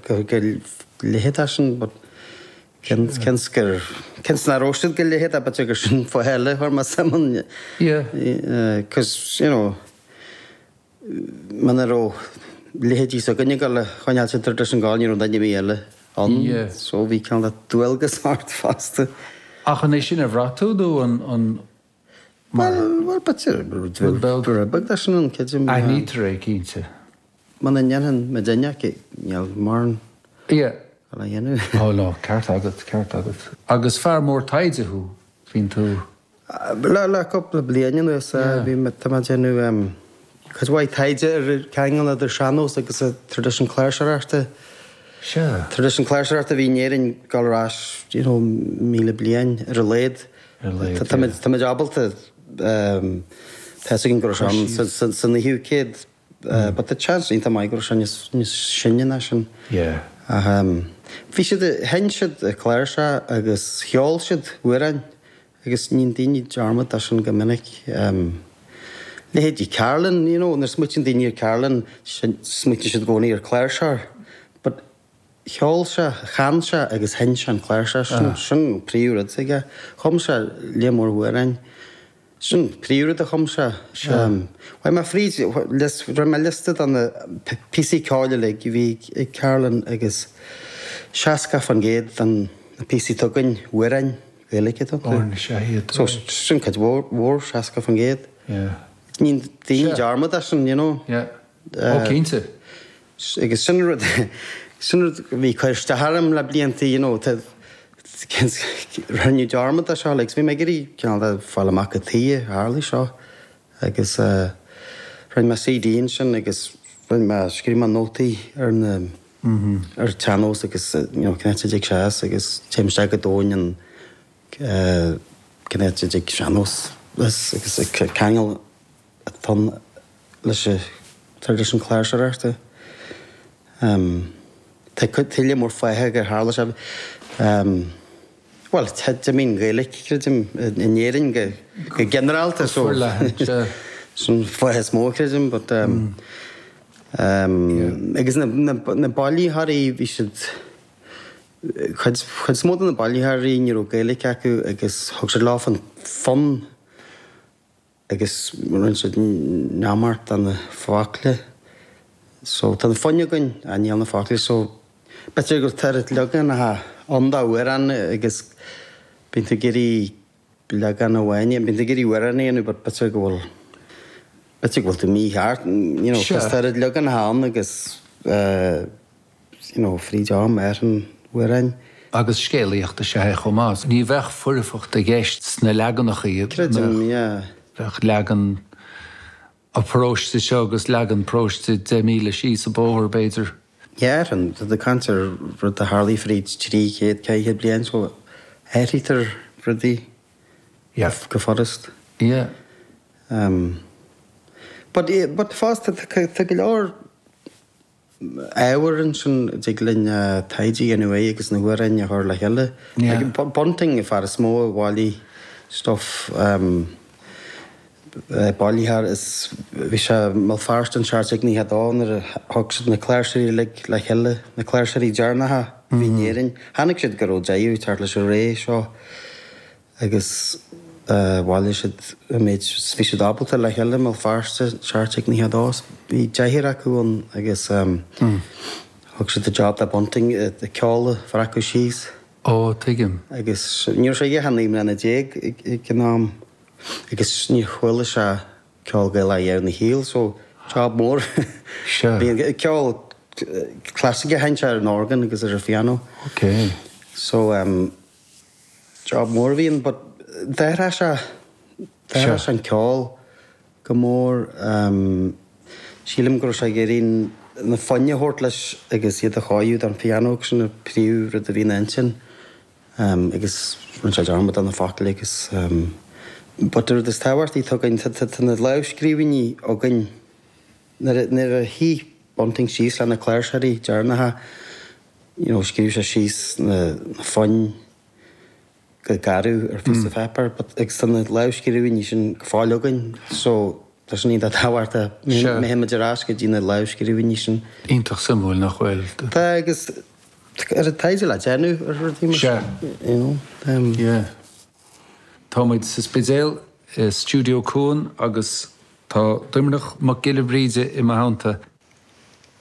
go leithéid de sin but cén gur cén nach raibh siad go leithéid de b'fhéidir gur sin fáth eile a chuir mé suim ann. Yeah. Cos you know muna raibh leithéidí s'againne ag dul a choinneáil an traidisiún ag gabháil ní raibh duine ar bith eile ann Yeah. so bhí cineál de dualgas ort fosta. Ach an é sin a bhraith tú nó an an mar Bhuel bhuel b'fhéidir rud beag. Rud beag de sin ann creidim. Aithnítear é cinnte. Muna ndéanann muidinne níl mórán Yeah. le dhéanamh. Oh no, ceart agat, ceart agat. Agus fear mór taighde thú, bíonn tú. Le le cúpla bliain anuas Yeah. bhí mé, tá mé ag déanamh cuid mhaith taighde ar an cheangal idir sean-nós agus an traidisiún cláirseoireachta. Sea. Traidisiún cláirseoireachta a bhí in Éirinn ag dul ar ais, you know, 1,000 bliain ar a laghad. Ar a laghad, Tá yeah. Tá muid ábalta, tá fhios againn go raibh sé ann sa sa naoú céad. But tá chance iontach maith go raibh sé níos níos sine ná sin. Yeah. Ach bhí siad, sheinn siad cláirseach agus cheol siad amhráin agus níonn daoine dearmad de sin go minic. Leithéidí Carlin, you know, nuair a smaoitíonn daoine ar Carlin, smaoitíonn siad i gcónaí ar chláirseoir. But cheol sé, chan sé agus sheinn sé an chláirseach, sin sin an príomhrud s'aige. Chum sé lear mór amhráin. Sin príomhrud a chum sé. Chuaigh mé fríd, rinne mé liosta de na píosaí ceoil uilig a bhí ag Carlin agus 60% de na píosaí atá againn, amhráin Ghaeilge atá iontu. So sin cuid mhór, 60%. Níonn daoine dearmad de sin, you know. Ó cinnte. Agus sin rud, sin rud a bhí ag cur isteach orm le blianta, you know, tá, rinneadh dearmad de seo, like, so bhí mé ag iarraidh cineál de fáil amach cad chuige ar tharlaigh seo agus eh rinne mé CD ansin agus rinne mé, scríobh mé nótaí ar na, ar an tsean-nós agus you know cén áit a dtig sé as agus téim isteach go domhain an eh cén áit a dtig sean-nós as agus ceangal atá ann leis an traidisiún cláirseoireachta. Tá tuilleadh mór fátha gur tharla sé. Bhuel, I mean Gaeilge, creidim, in Éirinn go ginearálta so sin fáth is mó, creidim, but agus na bailitheoirí, bhí siad, cuid is mó de na bailitheoirí ní raibh Gaeilge acu agus thug siad leo an fonn agus rinne siad neamart de na focla so tá na foinn againn ach níl na focla so b'fhéidir go bhfuil oiread leaganacha ann d'amhrán agus bíonn tú ag iarraidh leagan amháin bíonn tú ag iarraidh amhrán a dhéanamh but b'fhéidir go bhfuil b'fhéidir go bhfuil tú mícheart you know 'cause tá oiread leaganacha ann agus eh you know, fríd am ar an amhráin. Agus scéalaíocht is ea é chomh maith. Ní bheadh foirfeacht i gceist sna leaganacha. Creidim, yeah. Bheadh leagan an pharóiste seo agus leagan paróiste 10 míle síos an bóthar, b'fhéidir. Yeah, ar an, tá tú ag caint ar rud a tharlaigh fríd 300, 400 bliain so athraítear rudaí Yeah. go furast. Yeah. Um, but, but fosta tá go leor ábhar ansin a dtig linn taighde a dhéanamh air agus na hamhráin a chur le chéile. Bunting an fear is mó a bhailigh stuff bailitheoir is bhí sé i mBéal Feirste in 1792 nuair a thug siad na cláirseoirí uilig le chéile, na cláirseoirí deireanacha a bhí in Éirinn. Chonaic siad go raibh deireadh ag teacht leis an ré seo. agus bhailigh siad an méid is bhí siad ábalta le chéile i mBéal Feirste, 1792. Bhí deichniúr acu ann agus thug siad an job do Bunting an ceol a bhreacadh síos. Ó, tuigim. Agus ní raibh sé ach 19 mbliana ag an am agus níor chuala sé ceol Gaelach riamh ina shaol so job mór. Sea. Bhí ceol clasaiceach a sheinn sé ar an orgán agus ar an phiano. Ok. So Job mór a bhí ann but d'athraigh sé, d'athraigh sé an ceol go mór. Sílim go raibh sé ag iarraidh na foinn a thabhairt leis agus iad a chóiriú don phiano agus sin an príomh rud a bhí ina intinn. Agus rinne sé dearmad de na focail agus but an rud is tábhachtaí atá againn, tá na lámhscríbhinní againn nuair a shuigh Bunting síos le na cláirseoirí deireanacha, you know, scríobh sé síos na foinn go garbh ar phíosa páipéir but agus tá na lámhscríbhinní sin go fóill againn so. Tá sin iontach tábhachtach. Sea. Má théann muid ar ais go dtí na lámhscríbhinní sin. Iontach suimiúil, nach bhfuil? Tá agus ar an taighde le déanamh ar rudaí mar sin. Sea. You know. Yeah. Tá muid sa Spidéal i Stiúideo Cuan agus tá Doimnic Mac Giolla Bhríde i mo theannta.